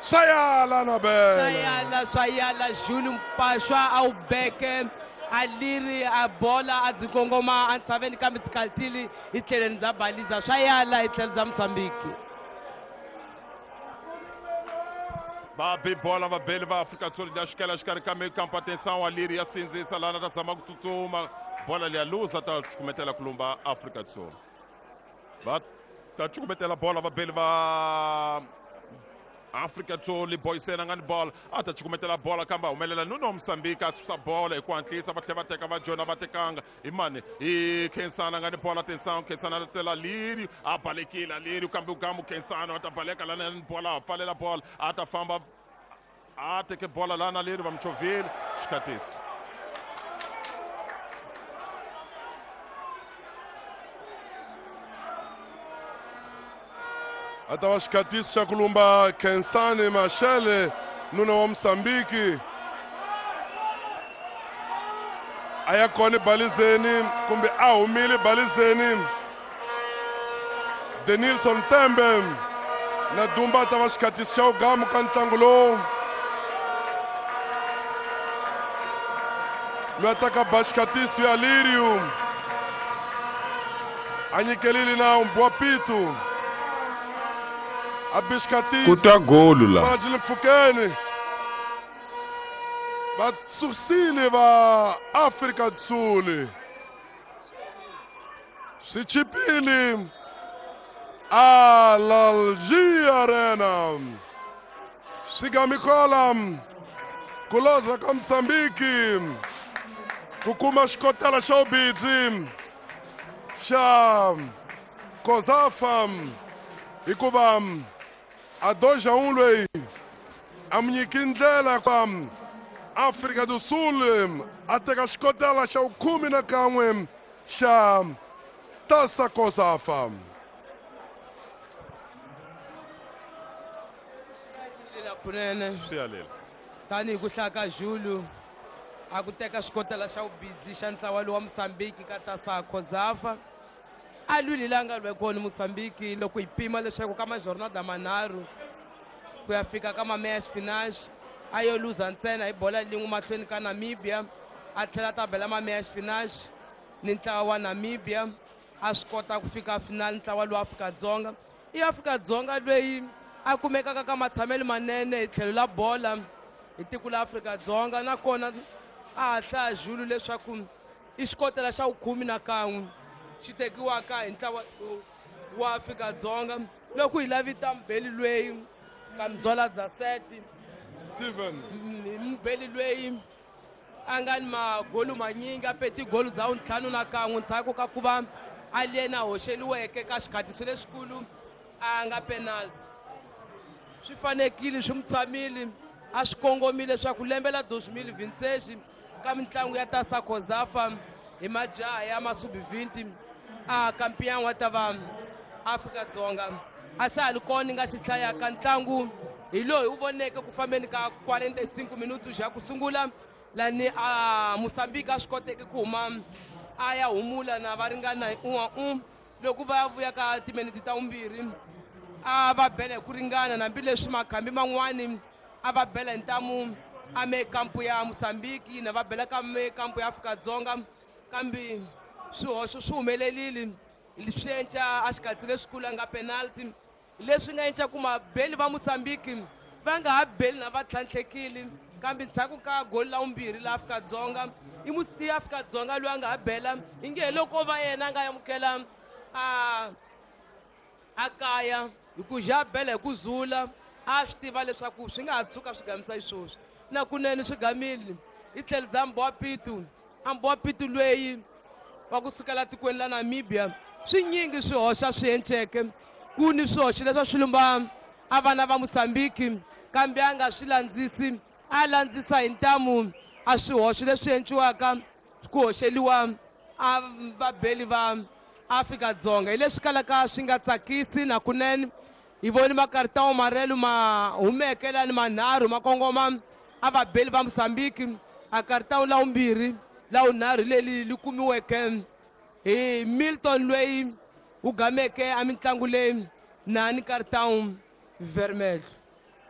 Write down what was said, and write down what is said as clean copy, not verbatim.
Swa yala na bela. Swa yala, swa yala Julu Mpashwa a wu beke a liri a bola a byi kongoma entshaveni kambe tsikalitili hi tlhelweni bya baliza swa yala hi tlhelo bya Mozambique. Va be bola vabeli va Afrika-Dzonga ya xikela xikarhi ka mikampo atenção a liri ya sindzisa lana ta zama ku tsutsuma bola liya luza ta cukumetela ku lumba Afrika-Dzonga va ta cukumetela bola vabeli va Afrika-Dzonga Boysen a nga ni bola a ta cukumetela bola kambe a humelela Nuno Mozambique a susa bola hi ku hatlisa va tlhela va teka va jona va tekanga hi mani hi Khensani a nga ni bola atenção Khensani a tela Liri a balekile Liri kambe ugamu Khensani a ta baleka lana ni bola a pfalela bola a ta famba a teke bola lana Liri va muchovhile xikhatisi A ta va xikhatisi xa ku lumba Khensani Mashele nuna wa Mozambique a ya kona balizeni kumbe a humile balizeni Denilson Tembe na Dumba ta va xikhatisi xa ugamu ka ntlangu lowu loyi a taka ba xikhatisi ya Lirio a nyikelile na Mbwa Pitu a bi xikhatisi Ku ta golu la. Byi le mpfhukeni va susile va Afrika Sul swi chipile a Lalji Arena swi gamikola ku loza ka Mozambique ku kuma xikotela xa vubidzi xa Kozafa hikuva a doja un loyi a mu nyiki ndlela ka Afrika do Sul a teka xikotela xa vukhume na kan'we xa Tasa Kozafa. Kunene swi yalela tanihi ku hlaya ka Julu a ku teka xikotela xa vubidzi xa ntlawa lowa Mozambique ka Tasa Kozafa a lwile la nga lwe kona Mozambique loko hi pima leswaku ka majornada manharhu ku ya fika ka mameyas finals a yo luza ntsena hi bola lin'we mahlweni ka Namibia a tlhela ta bela mameyas finals ni ntlawa wa Namibia a swi kota ku fika final ntlawa lowa Afrika-Dzonga i Afrika-Dzonga loyi a kumekaka ka matshamelo manene hi tlhelo la bola hi tiko la Afrika-Dzonga nakona a ha hlaya Julu leswaku i xikotela xa vukhume na kan'we xi tekiwaka hi ntlawa wa Afrika-Dzonga loko hi lavita mubeli loyi Kamzola Zaseti Steven mubeli loyi a nga ni magolu manyingi a peti golu dza ntlhanu na kan'we ndzhaku ka ku va a yena hoxeliweke ka xikhatiso lexikulu a nga penalty swi fanekile swi mu tshamile a swi kongomile leswaku lembe la 2026 ka mitlangu ya Tasa Kozafa hi majaha ya masubi 20 a kampiyan wa ta va Afrika-Dzonga a xa ha ri kona nga xi hlayaka ntlangu hi loyi u voneke ku fambeni ka 45 minutos ya ku sungula lani a Mozambique a swi koteke ku huma a ya humula na va ringana hi un'wa un loko va ya vuya ka timinete ta vumbirhi a va bela hi ku ringana hambileswi makhambi man'wani a va bela hi ntamu a me kampu ya Mozambique na va bela ka me kampu ya Afrika-Dzonga kambe swihoxo swi humelerile swi enca a xikatsi lexikulu a nga penalty leswi nga enca ku mabeli va Mozambique va nga ha beli na va tlhantlhekile kambe ndzhaku ka goli la vumbirhi la Afrika-Dzonga i Afrika-Dzonga loyi a nga ha bela i nge hi loko va yena a nga amukela a kaya hi ku ja bela hi ku zula a swi tiva leswaku swi nga ha tshuka swi gamisa xisweswi na kunene swi gamile hi tlhelo bya Mbwa Pitu a Mbwa Pitu loyi wa kusukela tikweni la Namibia swinyingi swihoxa swi enceke ku ni swihoxo leswi swi lumba a vana va Mozambique kambe a nga swi landzisi a landzisa hi ntamu a swihoxo leswi enciwaka ku hoxeliwa a vabeli va Afrika-Dzonga hi leswi kalaka swi nga tsakisi na kunene hi voni makarita wa marelo ma humeke lani manharhu ma kongoma a vabeli va Mozambique a karita la vumbirhi la vunharhu leli li kumiweke hi Milton loyi wu gameke a mitlangu leyi na ni karita vermelho.